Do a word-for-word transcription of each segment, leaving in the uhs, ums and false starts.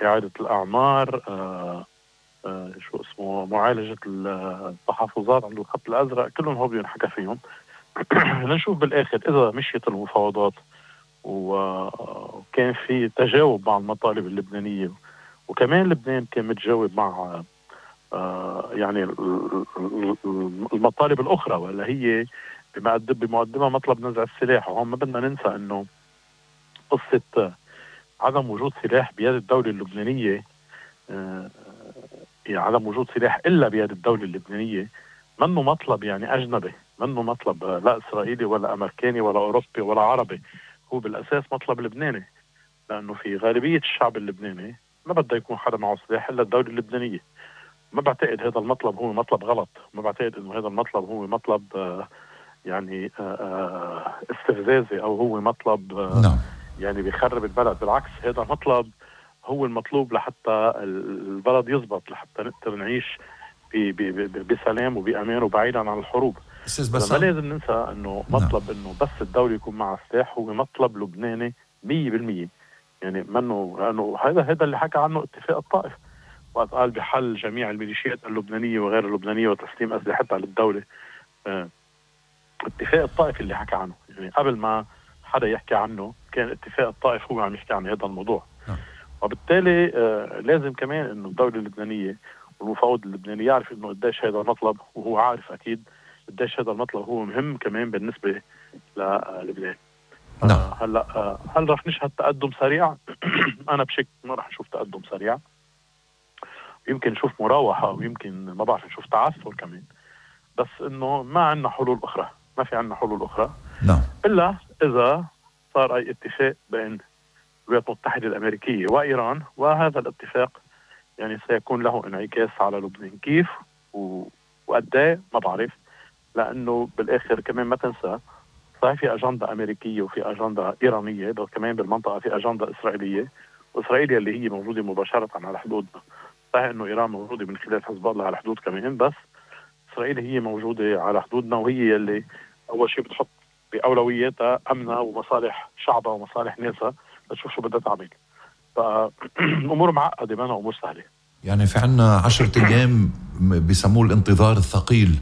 إعادة الأعمار، آه آه شو اسمه معالجة التحفظات عند الخط الأزرق، كلهم هو بينحكى فيهم. لنشوف بالآخر إذا مشيت المفاوضات وكان في تجاوب مع المطالب اللبنانية، وكمان لبنان كان متجاوب مع آه يعني المطالب الأخرى، ولا هي بمقدمة مطلب نزع السلاح. وهم ما بدنا ننسى أنه قصة عدم وجود سلاح بيد الدولة اللبنانية، آه يعني عدم وجود سلاح إلا بيد الدولة اللبنانية، منه مطلب يعني أجنبي، منه مطلب لا إسرائيلي ولا أمريكاني ولا أوروبي ولا عربي، هو بالأساس مطلب لبناني، لأنه في غالبية الشعب اللبناني ما بده يكون حدا معه سلاح إلا الدولة اللبنانية. ما بعتقد هذا المطلب هو مطلب غلط، ما بعتقد إنه هذا المطلب هو مطلب آه يعني آه آه استفزازي أو هو مطلب آه نعم. يعني بيخرب البلد. بالعكس، هذا مطلب هو المطلوب لحتى البلد يزبط، لحتى نقدر نعيش بسلام وبأمان وبعيدا عن الحروب. ما لازم ننسى أنه مطلب نعم. أنه بس الدولة يكون معها سلاح هو مطلب لبناني مية بالمية، يعني منه، لأنه هذا هذا اللي حكى عنه اتفاق الطائف، وقت قال بحل جميع الميليشيات اللبنانية وغير اللبنانية وتسليم أسلحتها للدولة. اه اتفاق الطائف اللي حكى عنه، يعني قبل ما حدا يحكي عنه كان اتفاق الطائف هو عم يحكي عن هذا الموضوع. اه. وبالتالي آه لازم كمان انه الدولة اللبنانية والمفاوض اللبناني يعرف انه قديش هذا المطلب، وهو عارف اكيد قديش هذا المطلب هو مهم كمان بالنسبة للبنان. نعم. آه هلا آه هل رح نشهد تقدم سريع؟ انا بشك ما رح نشوف تقدم سريع، يمكن نشوف مراوحة ويمكن ما بعرف نشوف تعثر كمان، بس انه ما عندنا حلول اخرى، ما في عندنا حلول اخرى. نعم. الا اذا صار اي اتفاق بين الولايات المتحدة الامريكية وايران، وهذا الاتفاق يعني سيكون له انعكاس على لبنان. كيف وقد ايه ما بعرف، لانه بالاخر كمان ما تنسى صحيح في اجنده امريكيه وفي اجنده ايرانيه، بس كمان بالمنطقه في اجنده اسرائيليه، واسرائيل اللي هي موجوده مباشره على حدودنا. صحيح انه ايران موجوده من خلال حزب الله على الحدود كمان، بس اسرائيل هي موجوده على حدودنا، وهي اللي اول شيء بتحط باولوياتها امنها ومصالح شعبها ومصالح ناسها، لتشوف شو بدها تعمل. فالامور معقده، ما أنا امور سهله. يعني في عنا عشرة ايام بيسموه الانتظار الثقيل،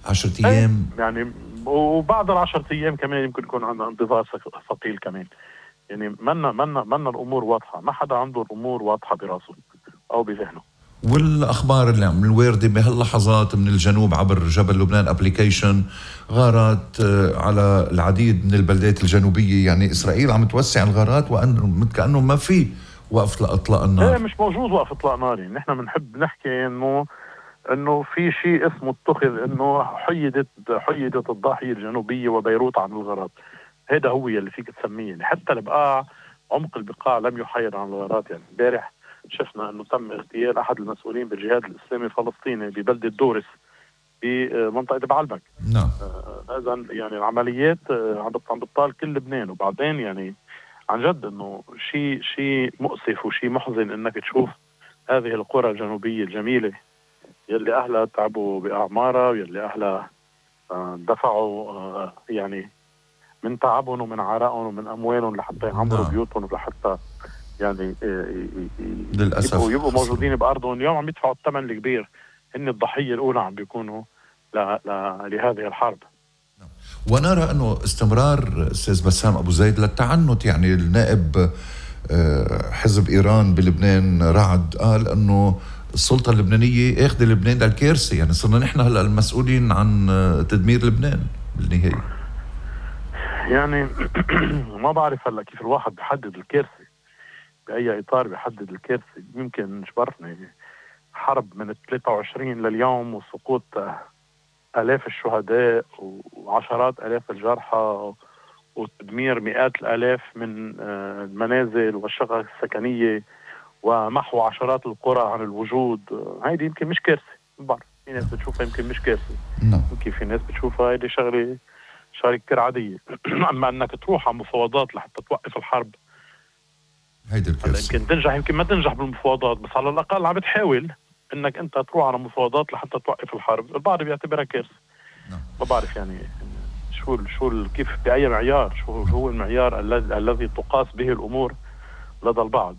عشرة ايام يعني، وبعد العشرة ايام كمان يمكن يكون عندنا انتظار ثقيل كمان. يعني منا منا منا الامور واضحه، ما حدا عنده الامور واضحه براسه او بذهنه. والاخبار اللي عم الوارده بهاللحظات من الجنوب عبر جبل لبنان ابليكيشن، غارات على العديد من البلدات الجنوبيه، يعني اسرائيل عم توسع الغارات وان كانه ما في وقف لاطلاق النار. ايه مش موجود وقف اطلاق نار. يعني نحن بنحب نحكي انه انه في شيء اسمه اتخذ انه حيدت حيدت الضاحيه الجنوبيه وبيروت عن الغارات. هذا هو اللي فيك تسميه. يعني حتى البقاع، عمق البقاع لم يحيد عن الغارات. يعني امبارح شفنا انه تم اغتيال احد المسؤولين بالجهاد الاسلامي الفلسطيني ببلده دورس بمنطقه بعلبك. نعم. اذا آه يعني العمليات آه عم بتطال كل لبنان. وبعدين يعني عن جد انه شيء شيء مؤسف وشيء محزن انك تشوف هذه القرى الجنوبيه الجميله يلي اهلها تعبوا باعمارها، ويلي اهلها آه دفعوا آه يعني من تعبهم ومن عرقهم ومن اموالهم لحتى يعمروا نعم. بيوتهم ولحتى يعني للاسف يبقوا, يبقوا موجودين بارضهم. اليوم عم يدفعوا الثمن الكبير، هن الضحيه الاولى عم بيكونوا ل... ل... لهذه الحرب. ونرى انه استمرار استاذ بسام ابو زيد للتعنت. يعني النائب حزب ايران بلبنان رعد قال انه السلطه اللبنانيه اخذ لبنان للكارثه، يعني صرنا نحن هلا المسؤولين عن تدمير لبنان بالنهايه. يعني ما بعرف هلا كيف الواحد بيحدد الكارثه، باي اطار بيحدد الكارثه. يمكن شبرتني حرب من ثلاثة وعشرين لليوم وسقوط آلاف الشهداء وعشرات آلاف الجرحى وتدمير مئات الآلاف من المنازل والشقق السكنية ومحو عشرات القرى عن الوجود. هيدي يمكن مش كارثة. بعرف في ناس بتشوفها يمكن مش كارثة، يمكن في ناس بتشوفها هيدي شغلة شغلة كتير عادية. أما أنك تروح على مفاوضات لحتى توقف الحرب، هيدي الكارثة. يمكن تنجح يمكن ما تنجح بالمفاوضات، بس على الأقل عم بتحاول انك انت تروح على مفاوضات لحتى توقف الحرب. البعض بيعتبرها كارثه. ما بعرف يعني شو شو كيف باي معيار، شو هو المعيار الذي الذي تقاس به الامور لدى البعض.